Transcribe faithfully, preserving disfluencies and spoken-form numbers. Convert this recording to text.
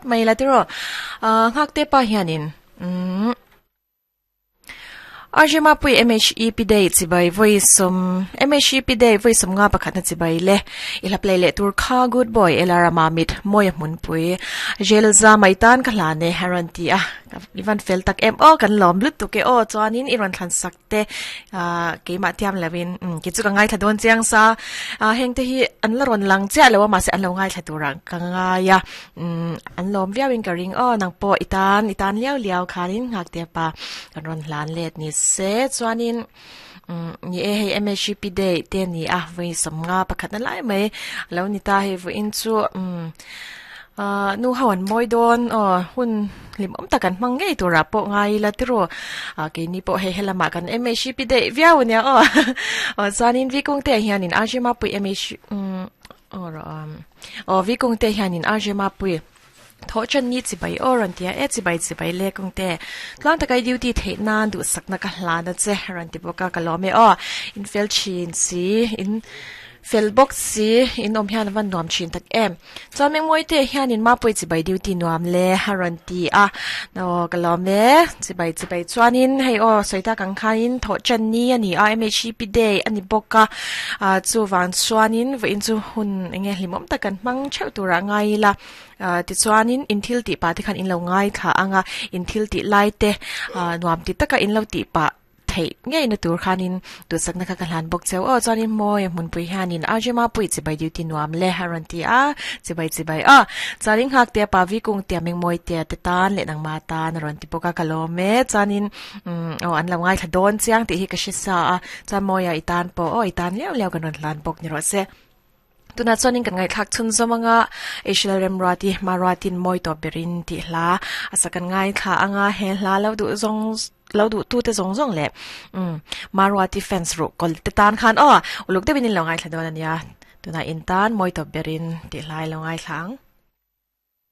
phawt mai la tiro nghak te pa hianin um R J Mapui M H E P Day chibai voi som M H E P Day voi som nga pakhat na chibai le ila play le tur kha good boy elara mamit moya mun pui jelza maitan ka hlane haran ti a ivan fel tak em o kan lom lut tu ke o chuanin iron thlan sak te a keima tiam lawin ki chu ka ngai thla don chiang sa a heng te hi an la ron lang cha lewa ma se an lo ngai thla turang ka nga ya an lom viawin ka ring o nang po itan itan liao liao khanin ngak te pa kan ron hlan let ni se chuanin ni e hei M H P Day te ni a voi som nga pakhat na lai mai lo ni ta hei voi in chu nu hawan moi don o hun lim om takan mang ngei tura po ngai la tiro a ke ni po he helama kan M H P Day viau nia o o chuanin vi kung te hianin R J Mapui M H or o vi kung te hianin R J Mapui tho chan ni chi bai oran tia e chi bai chi bai le kong te tlang takai duty the nan du sakna ka hla na che ran ti boka ka lo me o in fel chin si in fel box si in om hian van nuam chin tak em chuan meng moi te hian in ma pui chi bai duty nuam le haran ti a no ka lo me chi bai chi bai chuanin hei o soita kang khain tho chan ni ani a M H P Day ani boka a chu wan chuanin vo in chu hun enge hlimom takan mang cheu tura ngai la ti chuanin in thil ti pa te khan in lo ngai kha anga in thil ti lai te nuam ti taka in lo ti pa thei ngei na tur khanin tu sakna kha hlan bok cheu o chuanin moi mun pui hianin R J Mapui chi bai duty nuam le haran ti a chi bai chi bai a chuanin hak te pa vi kung te meng moi te te tan le nang ma ta na ron ti poka kalome chuanin o an lo ngai thla don chiang ti hi ka shi sa a chuan moya itan po o itan leo leo kan ron hlan bok ni ro se tuna chuanin kan ngai thak chun zomanga Asial Remrati Maratin moi to berin ti hla asakan ngai thla anga he hla lo du zong lo du tu te zong zong le um Marwati fans ro kol te tan khan o uluk te binin lo ngai thla don ania tuna in tan moi to berin ti hlai lo ngai thlang.